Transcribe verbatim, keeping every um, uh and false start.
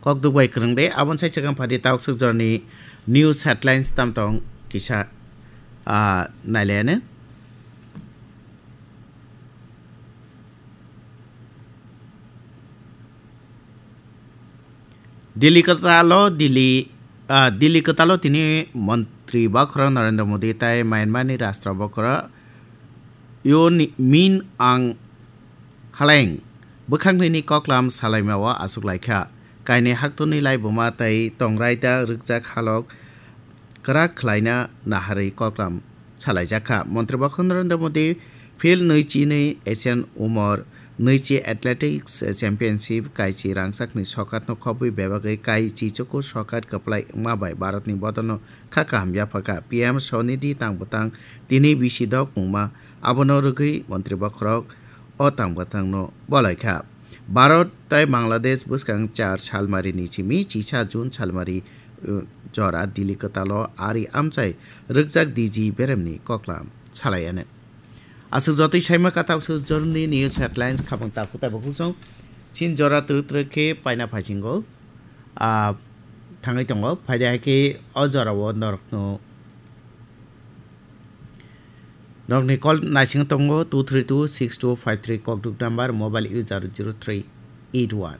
Kok duk bai kwrwng de, aboni sai chwkang phadi taokswk jorni news headlines tam tong kisa, ah, nailayane. Delhi kwtalo, Delhi, ah, Delhi kwtalo tini Montri Bokhorok Narendra Modi tai Myanmar ni Rashtra Bokhorok Yun Min Aung Hlaing bwkhaknwini koklam salaimao achuk laikha. Kainwi haktorni laibuma tei tongraida rwkjak halok kwrak khlaina naharwi koklam salaijakha. Montri Bokhorok Narendra Modi Field nui chi nui Asian Umor nui chi Athletics Championship kaichi rangchakni sokatno khobwi bebagwi kaichi chuku sokat kwplai wngma bai Bharatni bodolno kha kaham yapharkha. P M Sonidhi tang bwtang tini bisi dok wngma, abono rwgwi Montri Bokhorok o tang bwtangno bolaikha. Bharat tai Bangladesh bwskang char salmarini simi chisa June salmari, uh, jora Delhi kwtalo ari amchai rwkjak D G beremni koklam salaiyanw. Aswk jotoi saima katak swk jorni news headlines khabang takhuk tai bukhuk song. Chin jora twrwk twrwk khe paina phaisingo, ah, thangwi tongo. Phaidi hai khe o jorao norokno, norokni call naising tongo two three two six two five three kokduk number, mobile user zero three eight one.